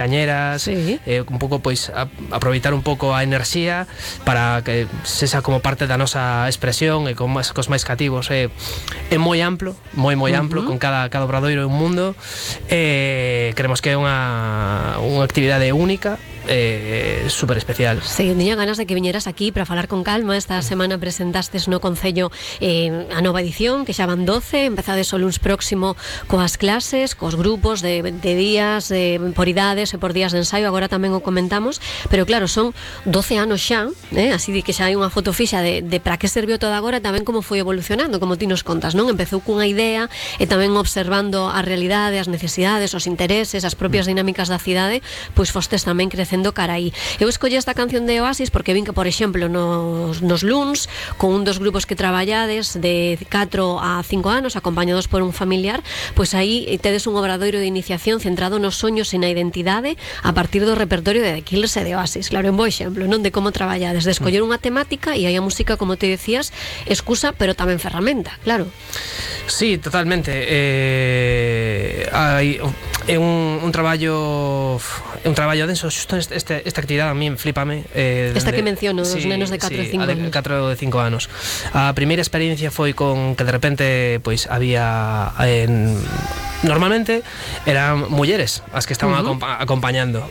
cañeras, un pouco pois aproveitar un pouco a enerxía para que sexa como parte da nosa expresión e cos máis cativos. É moi amplo, moi amplo, con cada obradoiro un mundo. Creemos que é unha actividade única, super especial. Sí, tiña ganas de que viñeras aquí para falar con calma. Esta semana presentastes no Concello a nova edición, que xa van 12, empezades o luns próximo coas clases, cos grupos de días, por idades e por días de ensaio, agora tamén o comentamos, pero claro, son 12 anos xa, así de que xa hai unha foto fixa de para que serviu todo agora, tamén como foi evolucionando, como ti nos contas, non? Empezou cunha idea e tamén observando a realidade, as necesidades, os intereses, as propias dinámicas da cidade, pois fostes tamén crecendo cara aí. Eu escolle esta canción de Oasis porque vin que, por exemplo, nos luns, con un dos grupos que traballades de 4 a 5 anos, acompañados por un familiar, pois aí tedes un obradoiro de iniciación centrado nos soños e na identidade a partir do repertorio de The Killers e de Oasis. Claro, un bo exemplo, non, de como traballades, de escoller unha temática e aí a música, como te decías, excusa, pero tamén ferramenta, claro. Sí, totalmente. É un traballo denso. Xusto esta actividade a mí flipame. Esta que menciono, os nenos de 4 e 5 anos. 4 e 5 anos. A primeira experiencia foi con que de repente pois había normalmente eran mulleres as que estaban acompañando,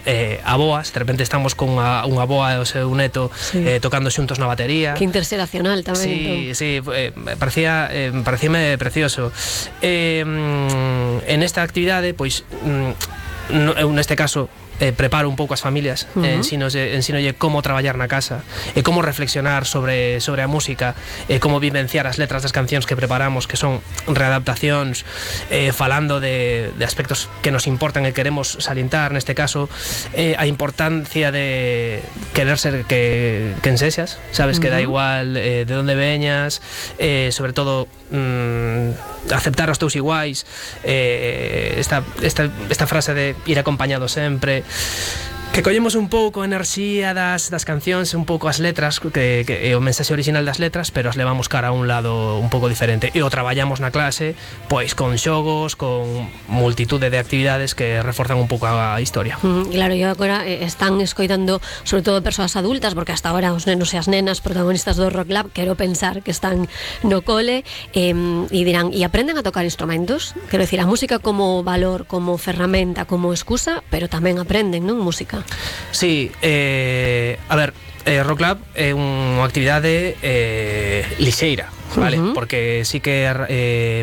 aboas. De repente estamos con unha aboa e o seu neto tocando xuntos na batería. Que interxeracional tamén. Sí, parecíame precioso. En esta actividade, pois eu neste caso preparo un pouco as familias, ensinolle como traballar na casa e como reflexionar sobre a música e como vivenciar as letras das cancións que preparamos, que son readaptacións, falando de aspectos que nos importan e queremos salientar, neste caso a importancia de querer ser quen sexas, sabes, que da igual de onde veñas, sobre todo aceptar os teus iguais, esta frase de ir acompañado sempre, que collemos un pouco a enerxía das cancións, un pouco as letras, que é o mensaxe original das letras, pero as levamos cara a un lado un pouco diferente e o traballamos na clase, pois con xogos, con multitude de actividades que reforzan un pouco a historia. Claro, e agora están escoitando sobre todo persoas adultas, porque hasta agora os nenos e as nenas protagonistas do Rock Lab, quero pensar que están no cole, e dirán, e aprenden a tocar instrumentos? Quero dicir, a música como valor, como ferramenta, como excusa, pero tamén aprenden, non, música? Sí, a ver, Rock Lab é unha actividade lixeira, vale? Porque sí que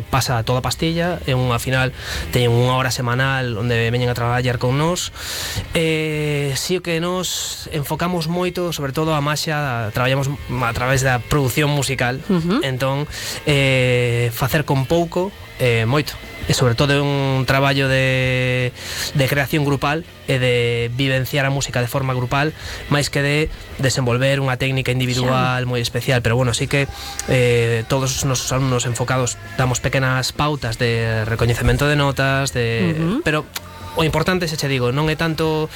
pasa toda a pastilla, é unha final, teñen unha hora semanal onde veñen a traballar con nós. Sí que nos enfocamos moito, sobre todo a maxia, traballamos a través da produción musical, entón facer con pouco, moito. E sobre todo é un traballo de creación grupal e de vivenciar a música de forma grupal, máis que de desenvolver unha técnica individual moi especial. Pero bueno, sí que todos os nosos alumnos enfocados damos pequenas pautas de recoñecemento de notas, pero o importante, se che digo, non é tanto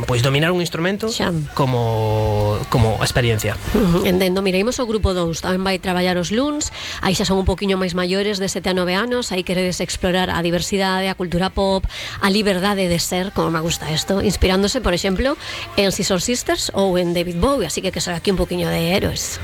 pois dominar un instrumento como a experiencia. Entendo, mira, imos ao grupo 2, tamén vai traballar os luns, aí xa son un poquinho máis maiores, de 7 a 9 anos, aí queredes explorar a diversidade, a cultura pop, a liberdade de ser, como me gusta isto, inspirándose, por exemplo, en Scissor Sisters ou en David Bowie, así que será aquí un poquinho de héroes.